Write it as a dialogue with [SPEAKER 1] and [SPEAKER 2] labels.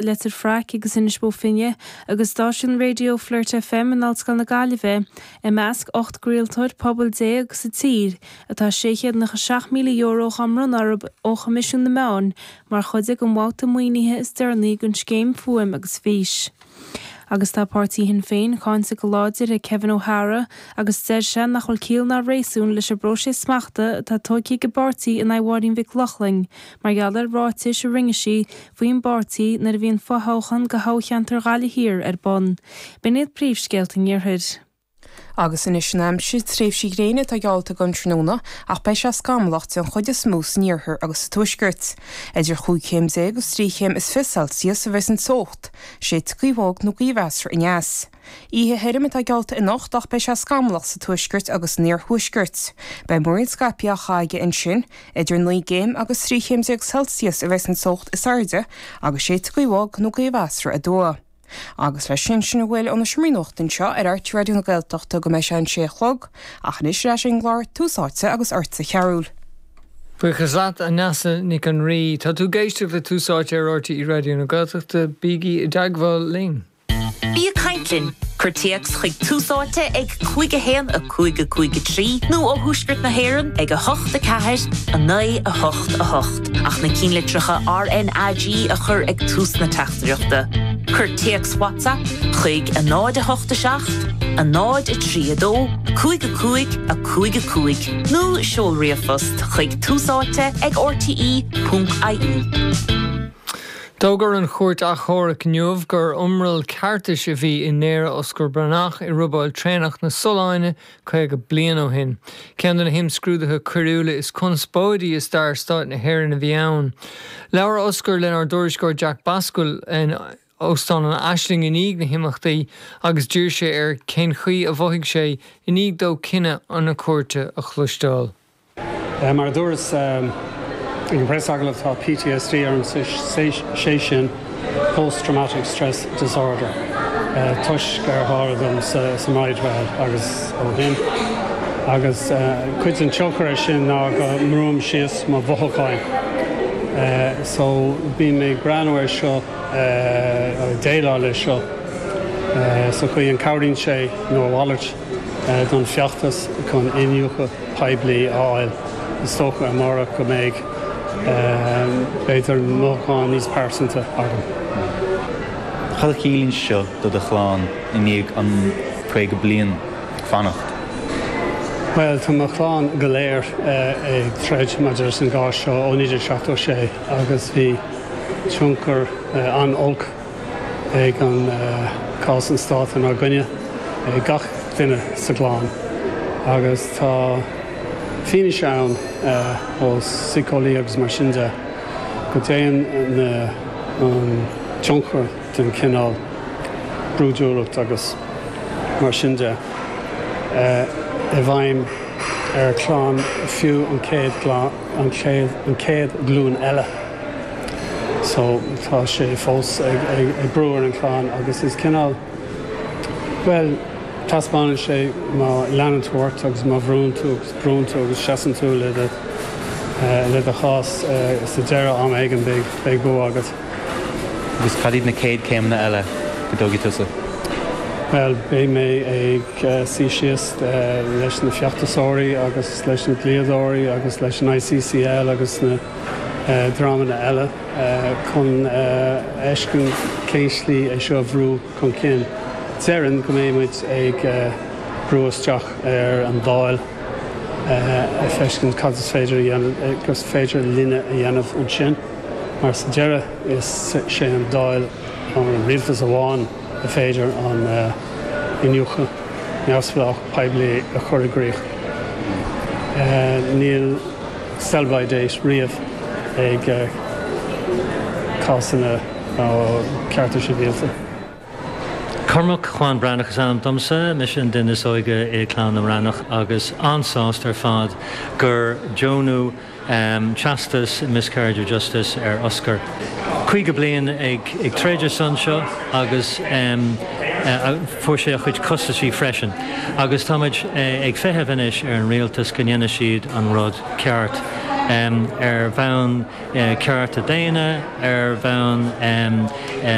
[SPEAKER 1] Leitir Fraic agus Inis Bó Finne agus stáisiún raidió Flirt FM in Ollscoil na Gaillimhe i measc 18 gcraoltóir pobail sa tír atá €697,000 á mbronnadh orthu ó Choimisiún na Meán mar chuid den bhabhta maoinithe is deireanaí den scéim Fuaim agus Fís. Agus tá páirtí Shinn Féin cáinte go láidir ag Kevin O'Hara agus deir sé nach bhfuil ciall ná réasún leis an bpróiseas smachta atá tógtha ag an bpáirtí in aghaidh Mháirín Mhic Lochlainn mar gheall ar ráitis a rinne sí faoin bpáirtí nuair a bhí an fothoghchán do thoghcheantar Ghaillimh Thiar ar bun. B'in iad príomhscéalta an Iarthair.
[SPEAKER 2] Agus anois an aimsir, tréimhsí gréine atá geallta don tráthnóna ach beidh sé scamallach den chuid is mó san iarthar agus sa tuaisceart. Idir chúig chéim déag agus trí chéim is 20 Celsius a bheas an teocht. Séidfidh gaoth bhog nó gaoth mheasartha aneas. Oíche thirim atá geallta anocht ach beidh sé scamallach sa tuaisceart agus san iarthuaisceart. Beidh múirín scaipthe á chaitheamh aige ansin. Idir 9 gcéim agus 13 chéim Celsius a bheas an teocht is airde agus séidfidh gaoth bhog nó gaoth mheasartha aduaidh. Agus leis sin, sin a bhfuil ó na seomraí nuachta anseo ar RTÉ Raidió na Gaeltachta go mbeidh sé an sé a chlog, ach anois ar ais ag an gclár Tús Áite agus ortsa a Chearúil.
[SPEAKER 3] Buíochas leat, a Neasa Nic an Rí. Tá tú ag éisteacht le Tús Áite ar RTÉ Raidió na Gaeltachta. Bígí i dteagmháil linn.
[SPEAKER 4] Bí ag caint linn! Cuir téacs chuig Tús Áite ag 5 1 5 5 3 nó ó Thuaisceart na hÉireann ag 8 4 9 8 8. Ach na cinnlitreacha RnaG a chur ag tús na teachtaireachta. Cuir téacs WhatsApp chuig 0 8 7 0 3 2 5 5 5 5 nó seol ríomhphost chuig túsáite ag rte.ie.
[SPEAKER 3] D'fhógair an Chúirt Achomhairc inniu gur iomrall ceartais a bhí i ndaoradh Oscar Breathnach i robáil traenach na Solláine 50 bliain ó shin. Ceann de na himscrúduithe coiriúla is conspóidí i stair Stáit na hÉireann a bhí ann. Labhair Oscar lenár dtuairisceoir Jack Basquill in Óstán an Aisling i ndiaidh na himeachtaí agus d'iarr sé air cén chaoi a mhothaigh sé i ndiaidh dó cinneadh na cúirte a chloisteáil.
[SPEAKER 5] Mar a dúras ag an bpreasagallamh, tá PTSD orm, sé sin Post Traumatic Stress Disorder, toisc ar tharla dom sa mBridewell agus ó shin. Agus cuid den tionchar air sin ná go mbrúim síos mo mhothúcháin. So bím ag breathnú air seo, ag déileáil leis seo sa chaoi an cabhraíonn sé nó a mhalairt don feachtas chun iniúchadh poiblí a fháil. Is dócha amárach go mbeidh, b'fhéidir, mothúcháin níos pearsanta agam.
[SPEAKER 6] Cad a chiallaíonn seo do do chlann i ndiaidh an 50 bliain fanacht?
[SPEAKER 5] Bhuel, tá mo chlann go léir ag troid maidir leis an gcás seo ó 1976 agus bhí tionchar an-olc ag an cás an Stáit inár gcoinne, ag gach duine sa gclann agus tá fianaise ann ó síceolaí agus mar sin de go dtéann an tionchar den chineál brúidiúlacht agus mar sin de i bhfeidhm ar chlann fiú an chéad an chéad ghlúin eile. So tá sé fós ag brú ar an chlann agus is cineál, bhuel, taispeánann sé má leanann tú ort agus má bhrúnn tú agus brúnn tú agus seasann tú le do, le do chás sa deireadh am éigin beidh, beidh bua agat.
[SPEAKER 6] Agus cad iad na chéad chéimeanna eile go dtógfaidh tusa?
[SPEAKER 5] Bhuel, beidh mé ag suí síos leis na feachtasóirí agus leis na dlíodóirí agus leis an ICCL agus na. dreamanna eile chun a fheiscint cén slí é seo a bhrú chun cinn. Déarfainn go mbeidh muid ag brú isteach ar an Dáil a feiscint cad is féidir a dhéanamh, gur féidir linne a dhéanamh ansin, mar sa deireadh is sé an Dáil nó an rialtas amháin a féidir an iniúchadh neamhspleách poiblí a chur i gcrích. Níl. sell by date riamh ag cásanna cearta sibhialta.
[SPEAKER 7] Cormac Juan Breathnach is ainm domsa, mise an duine is óige i gclann na mBreathnach agus an-sásta ar fad gur deonadh teastas Miscarriage of Justice ar Oscar. 50 bliain ag troid ar son seo agus fuair sé a chuid costaisí freisin. Agus táimid ag feitheamh anois ar an rialtas go ndéanfaidh siad an rud ceart. ar bhonn cearta daonna, ar bhonn.